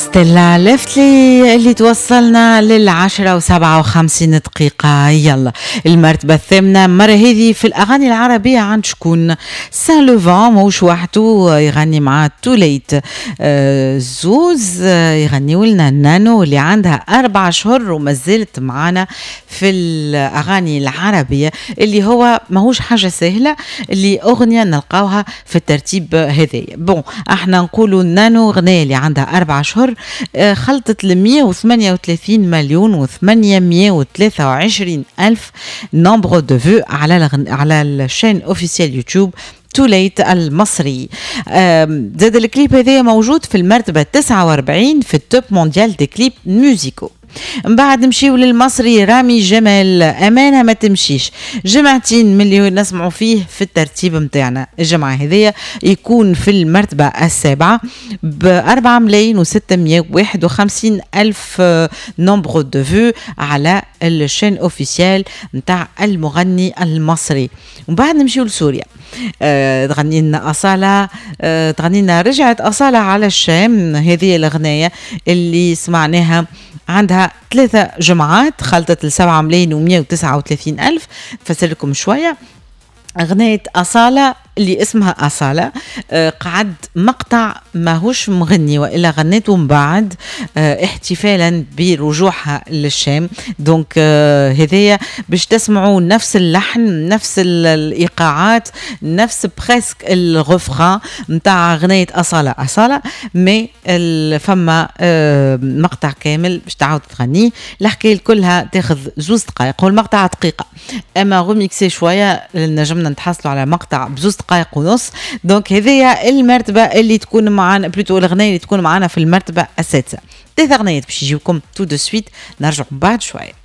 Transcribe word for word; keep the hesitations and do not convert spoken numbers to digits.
ستيلا لفتلي اللي توصلنا للعشرة وسبعة وخمسين دقيقة. يلا المرتبة الثامنة مرة هذه في الأغاني العربية عند شكون؟ Saint Levant، ماهوش وحده، يغني مع توليت آه زوز، آه يغنيوا لنا نانو اللي عندها أربع شهور وما زالت معانا في الأغاني العربية، اللي هو ماهوش حاجة سهلة اللي أغنية نلقاوها في الترتيب هذايا. bon احنا نقولوا نانو غنية اللي عندها أربع شهور آه، خلطت ل مية وثمانية وثلاثين مليون وثمانمية وثلاثة وعشرين ألف nombre de vues على الغن... على ال chaîne officielle YouTube توليت المصري. زاد الكليب هذا موجود في المرتبة تسعة وأربعين في ال top mondial des clips musicaux. من بعد نمشيو للمصري رامي جمال، امانه ما تمشيش. جمعتين من اللي نسمعوا فيه في الترتيب نتاعنا، الجمعة هذيا يكون في المرتبة السابعة ب أربعة ملايين وستمية وواحد وخمسين الف nombre de vues على ال chaîne officielle نتاع المغني المصري. ومن بعد نمشيو لسوريا، آه، تغني لنا أصالة، آه، تغني لنا رجعت أصالة على الشام. هذه الأغنية اللي سمعناها عندها ثلاثة جمعات، خلطت لسبعة ملايين ومية وتسعة وثلاثين ألف. نفسر لكم شوية أغنية أصالة اللي اسمها أصالة. آه، قعد مقطع ماهوش مغني وإلا غنيته من بعد آه، احتفالا برجوعها للشام. donc آه، هذايا باش تسمعوا نفس اللحن، نفس الإيقاعات، نفس presque ال refrain نتاع غنية أصالة أصالة، mais فما مقطع كامل باش تعاود تغنيه. الحكاية كلها تاخذ زوز دقائق، هو المقطع دقيقة اما remixé شوية نجمنا نتحصلوا على مقطع بزوز دقائق ونص. donc هذه المرتبة اللي تكون معنا، plutôt الاغنية اللي تكون معنا في المرتبة السادسه. ثلاث اغنيات باش يجيوكم tout de suite، نرجع بعد شويه.